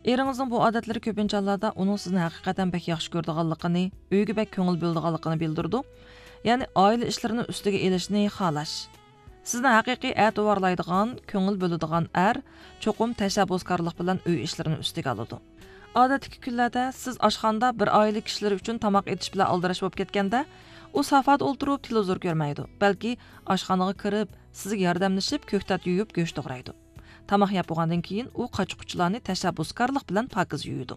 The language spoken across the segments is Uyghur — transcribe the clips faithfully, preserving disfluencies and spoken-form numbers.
ئېرىڭىزنىڭ بۇ ئادەتلىرى كۆپىنچە ھاللاردا ئۇنىڭ سىزنى ھەقىقەتەن بەك ياخشى كۆرىدىغانلىقىنى، ئۆيگە بەك كۆڭۈل بۆلىدىغانلىقىنى بىلدۈرىدۇ. يەنى ئائىلە ئىشلىرىنى ئۈستىگە ئېلىشنى خالاش. سىزنى ھەقىقىي ئەتىۋارلايدىغان، كۆڭۈل بۆلىدىغان ئەر چوقۇم تەشەببۇسكارلىق بىلەن ئۆي ئىشلىرىنى ئۈستىگە ئالىدۇ. ئادەتتىكى كۈنلەردە سىز ئاشخانىدا بىر ئائىلە كىشىلىرى ئۈچۈن تاماق ئېتىش بىلەن ئالدىراش بولۇپ كەتكەندە، ئۇ سافادا ئولتۇرۇپ تېلېۋىزور كۆرمەيدۇ، بەلكى ئاشخانىغا كىرىپ، سىزگە ياردەملىشىپ كۆكتات يۇيۇپ گۆش توغرايدۇ. تاماق يەپ بولغاندىن كېيىن ئۇ قاچا-قۇچىلارنى تەشەببۇسكارلىق بىلەن پاكىز يۇيىدۇ.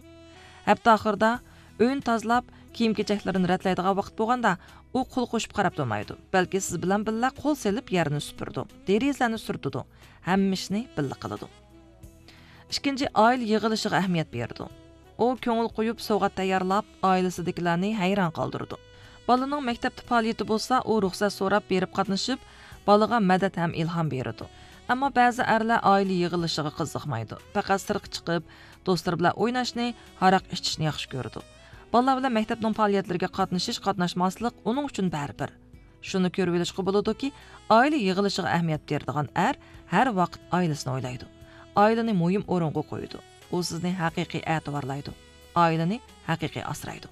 ھەپتە ئاخىرىدا ئۆينى تازىلاپ، كىيىم-كېچەكلىرىنى رەتلەيدىغان ۋاقىت بولغاندا، ئۇ قول قوشۇپ قاراپ تۇرمايدۇ، بەلكى سىز بىلەن بىللە قول سېلىپ يەرنى سۈپۈرىدۇ، دېرىزىلەرنى سۈرتىدۇ، ھەممە ئىشنى بىللە قىلىدۇ. ئىككىنچى، ئائىلە يىغىلىشىغا ئەھمىيەت بېرىدۇ. ئۇ كۆڭۈل قويۇپ سوۋغات تەييارلاپ، ئائىلىسىدىكىلەرنى ھەيران قالدۇرىدۇ. بالىنىڭ مەكتەپتە پائالىيىتى بولسا، ئۇ رۇخسەت سوراپ بېرىپ قاتنىشىپ، بالىغا مەدەت ھەم ئىلھام بېرىدۇ. ئەمما بەزى ئەرلەر ئائىلە يىغىلىشىغا قىزىقمايدۇ، پەقەت سىرتقا چىقىپ، دوستلىرى بىلەن ئويناشنى، ھاراق ئىچىشنى ياخشى كۆرىدۇ. بالىلار بىلەن مەكتەپنىڭ پائالىيەتلىرىگە قاتنىشىش، قاتناشماسلىق ئۇنىڭ ئۈچۈن بەرىبىر. شۇنى كۆرۈۋېلىشقا بولىدۇكى، ئائىلە يىغىلىشىغا ئەھمىيەت بېرىدىغان ئەر ھەر ۋاقىت ئائىلىسىنى ئويلايدۇ. ئائىلىنى مۇھىم ئورۇنغا قويىدۇ. ئۇ سىزنى ھەقىقىي ئەتىۋارلايدۇ. ئائىلىنى ھەقىقىي ئاسرايدۇ.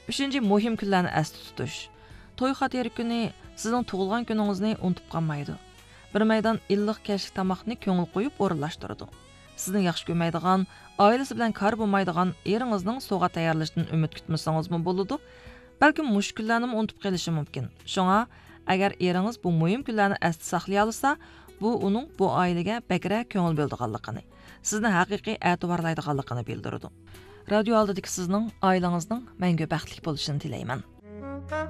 ئۈچىنچى، مۇھىم كۈنلەرنى ئەستە تۇتۇش. توي خاتىرە كۈنى سىزنىڭ تۇغۇلغان كۈنىڭىزنى ئۇنتۇپ قالمايدۇ. بىر مەيدان ئىللىق كەچلىك تاماقنى كۆڭۈل قويۇپ ئورۇنلاشتۇرىدۇ. سىزنى ياخشى كۆرمەيدىغان، ئائىلىسى بىلەن كارى بولمايدىغان ئېرىڭىزنىڭ سوۋغا تەييارلىشىدىن ئۈمىد كۈتمىسىڭىزمۇ بولىدۇ، بەلكىم مۇشۇ كۈنلەرنىمۇ ئۇنتۇپ قېلىشى مۇمكىن. شۇڭا، ئەگەر ئېرىڭىز بۇ مۇھىم كۈنلەرنى ئەستە ساقلىيالىسا، بۇ ئۇنىڭ بۇ ئائىلىگە بەكرەك كۆڭۈل بۆلىدىغانلىقىنى، سىزنى ھەقىقىي ئەتىۋارلايدىغانلىقىنى بىلدۈرىدۇ. رادىيو ئالدىدىكى سىزنىڭ ئائىلىڭىزنىڭ مەڭگۈ بەختلىك بولۇشىنى تىلەيمەن.